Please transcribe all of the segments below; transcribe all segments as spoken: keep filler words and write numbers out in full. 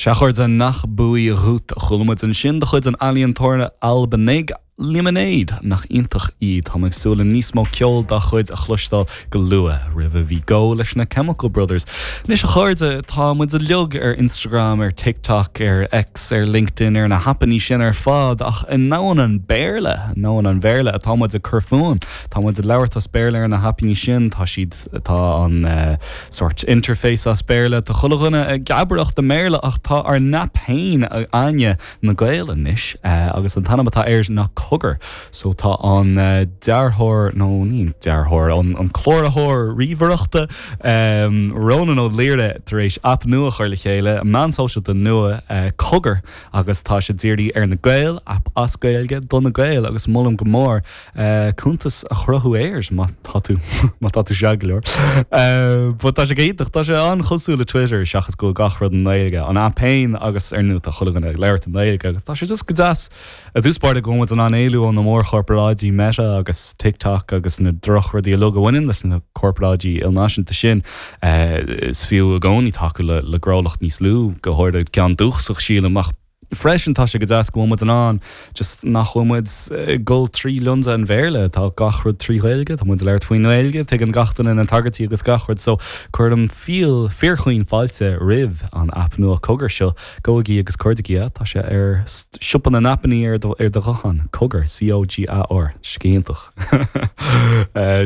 Sea, a chairde, Nach Buí Dhuit a chuala muid ansin de chuid an ealaíontóra Albanaigh Lemonade nach iontach í tá ag súil le níos mó ceol dá chuid a chloisteáil go luath roimhe bhí Go leis na Chemical Brothers. Anois a chairde tá muid uilig ar Instagram ar TikTok ar X ar LinkedIn ar na haipeanna sin ar fad ach i ndomhan an Bhéarla nó an Bhéarla atá muid ag cur fúinn Tá muid ag labhairt as Béarla ar na haipeanna sin tá siad tá an uh, sort interface as Béarla Tá chuile dhuine ag gabaireacht i mBéarla ach tá ár n-aip féin againne na Gaeil anois uh, agus an t-ainm atá air ná Cogar. So tá an uh, dearthóir nó ní dearthóir an, an cláraitheoir ríomhaireachta um, Ronan Ó Laoire tar éis aip nua a chur le chéile, meán sóisialta nua uh, Cogar agus tá sé dírithe ar na Gaeil aip as Gaeilge do na Gaeil agus molaim go mór uh, cuntas a chruthú air má tá tú má tá tú sé go leor. Uh, But tá sé iontach tá sé an-chosúil le Twitter seachas go gach rud i nGaeilge an aip féin agus ar ndóigh tá chuile dhuine ag labhairt i nGaeilge agus tá sé just go deas i dtús báire go bhfuil muid in ann éalú ó na mórchorparáidí Meta agus TikTok agus na drochrudaí uilig a bhaineann leis na corparáidí ilnáisiúnta sin uh, is fiú i gcónaí tacú le le gnólacht níos lú go háirithe ceann dúchasach sílim ach freisin tá sé go deas go bhfuil muid in ann just nach bhfuil muid ag dul trí lionsa an Bhéarla tá gach rud trí Ghaeilge tá muid labhairt faoin nGaeilge tuigeann gach duine na tagairtí agus gach rud so cuirim fíor fíorchaoin fáilte roimh an aip nua Cogar seo gabhaigí agus cuardaigí tá sé ar siopa na n-aipeanna ar do ar do ghuthán Cogar COGAR scéantach.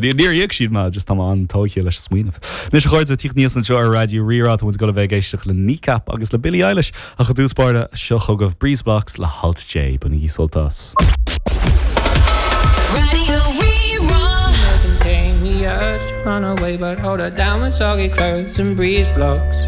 Níor íoc siad má just tá an-tógtha leis smaoineamh. Anois a chairde tíocht níos anseo ar Raidió Rí-Rá muid go bheith ag éisteacht le Kneecap agus le Billie Eilish ach i dtús báire seo chugaibh Breezeblocks le Alt J bainigí sult as. Radio Rí-Rá. Contain the urge to run away, but hold her down with soggy clothes and breeze blocks.